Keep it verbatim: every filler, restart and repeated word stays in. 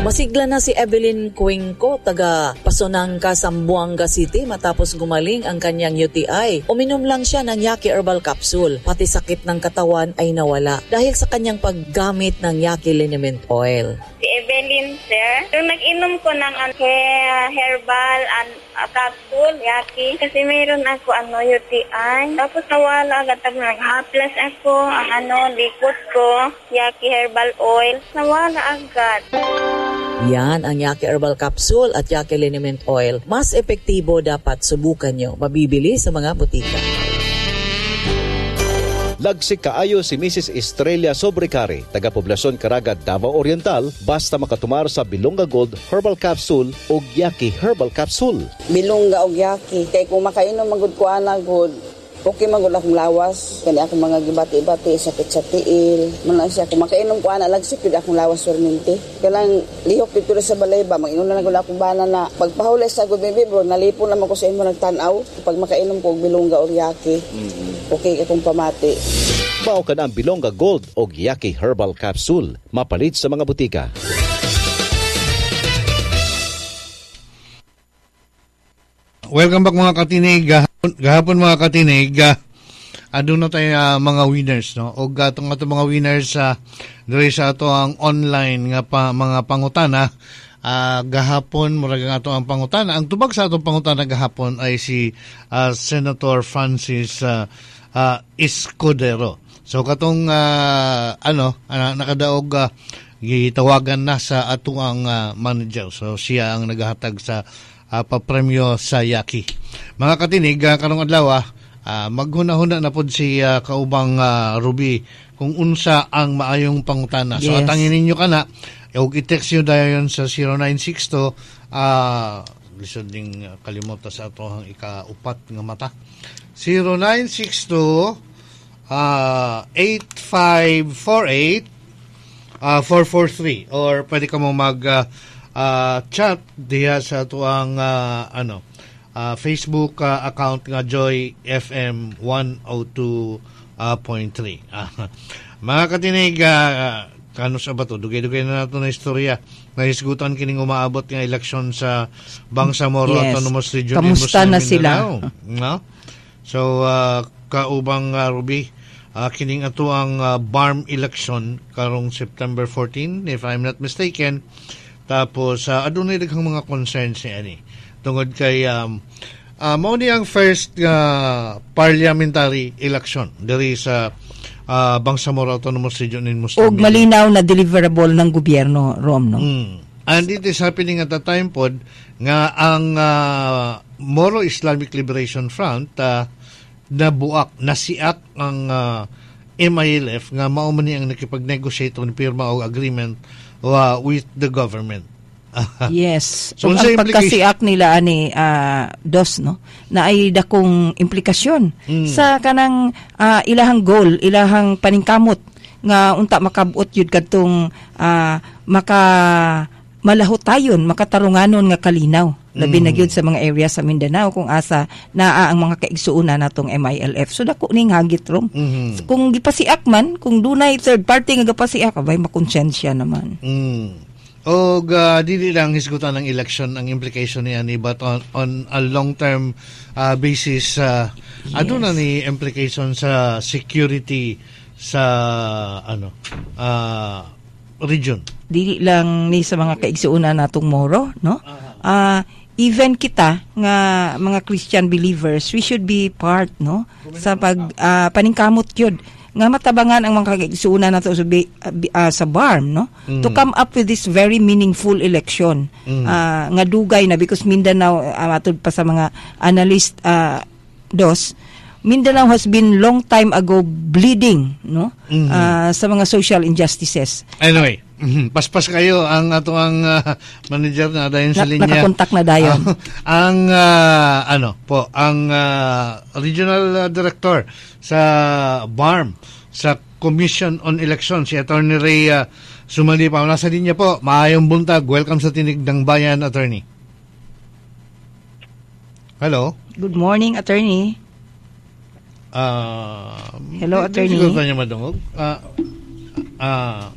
Masigla na si Evelyn Cuenco, taga Pasonanca, Zamboanga City matapos gumaling ang kanyang U T I. Uminom lang siya ng Yaki Herbal Capsule. Pati sakit ng katawan ay nawala dahil sa kanyang paggamit ng Yaki Liniment Oil. Si Evelyn, sir. Yung nag-inom ko ng ano, he- herbal and uh, capsule, Yaki. Kasi mayroon ako ano, U T I. Tapos nawala agad. Tapos nag-haplas ako, ang ano, likot ko, Yaki Herbal Oil. Nawala agad. Yan ang Yaki Herbal Capsule at Yaki Liniment Oil. Mas epektibo, dapat subukan nyo. Mabibili sa mga botika. Lagsik kaayo si Missus Estrella Sobrecare, taga Poblasyon Caraga, Davao Oriental, basta makatumar sa Bilonga Gold Herbal Capsule o Yaki Herbal Capsule. Bilongga og Yaki. Kay kung makainom magud ko ana gud, okay man gud akong lawas. Kani akong mga gibati-bati, sakit sa tiil. Man lang siya, kung makainom ko ana, lagsik gyud akong lawas permente. Kanang lihok dito sa balay ba, mag-inom na lang gud akong bana na pagpahulay sa good baby bro, nalipon naman ko sa imo nagtan-aw. Pag makainom ko og Bilongga or Yaki, okay akong pamati. Mao kana ang Bilonga Gold o Yaki Herbal Capsule. Mapalit sa mga butika. Welcome back, mga katinig. Gahapon, gahapon mga katinig, uh, aduna tayo uh, mga winners, no? Og atong ato mga winners sa uh, diri sa ato ang online nga pa, mga pangutana. Uh, gahapon murag ang ato ang pangutana. Ang tubag sa atong pangutana gahapon ay si uh, Senator Francis uh, uh, Escudero. So katong uh, ano uh, nakadaog, uh, gitawagan na sa ato ang uh, manager. So siya ang naghahatag sa uh, papremyo sa Yaki. Mga katinig, uh, karong adlaw, uh, maghuna-huna na pod si uh, kaubang uh, Ruby kung unsa ang maayong pangutana. So Yes. atangin ninyo kana ug i-text nyo dayon sa zero nine six two, uh, lisod ning uh, kalimot sa ato ang ikaupat nga mata. zero nine six two uh, eight five four eight uh, four four three or pwede ka mo mag uh, uh, chat diha sa atuang uh, ano uh, Facebook uh, account nga Joy F M one oh two point three. Ah, mga katinig, uh, kano sa ba to? Dugay-dugay na nato na istorya. Nahisgutan kining umaabot nga eleksyon sa Bangsamoro Yes. Autonomous Region in Kamusta Muslim na sila? Mindanao. No? So, uh, kaubang uh, Ruby, uh, kining ato ang uh, BARMM election karong September fourteen, if I'm not mistaken. Tapos, uh, adunay daghang mga concerns ni ani. Tungod kay um, uh, mao ni ang first uh, parliamentary election diri sa uh, Bangsamoro Autonomous Region in Muslim Og malinaw na deliverable ng gobyerno, Rom, no? Mm. And it is happening at the time pod nga ang uh, Moro Islamic Liberation Front uh, nabuak, nasiak ang uh, M I L F nga mao man ni ang nakipag-negotiate o pirma og agreement uh, with the government. Yes. So, So, unsay ang pagkasiak nila ani ah, dos, no, na ay dakong implikasyon Mm. sa kanang ah, ilahang goal, ilahang paningkamot nga unta makabot yun kadtong ah, maka malahutayon, makatarunganon nga kalinaw. Labi na Mm. gyud sa mga area sa Mindanao kung asa naa ang mga kaigsuonan natong M I L F. So dako ning hagit, Rom. Mhm. Kung gipasiak man, kung dunay third party nga gipasiak, abay makonsensya naman. Mm. Og uh, dili lang hisgutan ng election ang implication niya ni, but on on a long term uh, basis, uh, yes. aduna ni implication sa security sa ano uh, region. Dili lang ni sa mga kaigsuonan natong Moro, no? Ah, even kita nga mga Christian believers, we should be part, no, sa pag ah, paningkamot yun nga matabangan ang mga kaigsuonan nato sa, bi- ah, bi- ah, sa BARMM, no, Mm. to come up with this very meaningful election Mm. Ah, nga dugay na because Mindanao, uh, matud pa sa mga analyst, ah, dos, Mindanao has been long time ago bleeding, no, Mhm. Ah, sa mga social injustices. Anyway, mhm, paspas kayo ang ato ang uh, manager na dayon sa Na- linya. Nakakontak na dayon. Ang ah, ano po, ang ah, regional ah, director sa BARMM sa Commission on Elections, si Attorney Ray uh, Sumalipa. Nasa linya po. Maayong buntag. Welcome sa Tinig ng Bayan, Attorney. Hello. Good morning, Attorney. Ah, Hello, di- di Attorney. siguro niya madungog. Ah, ah,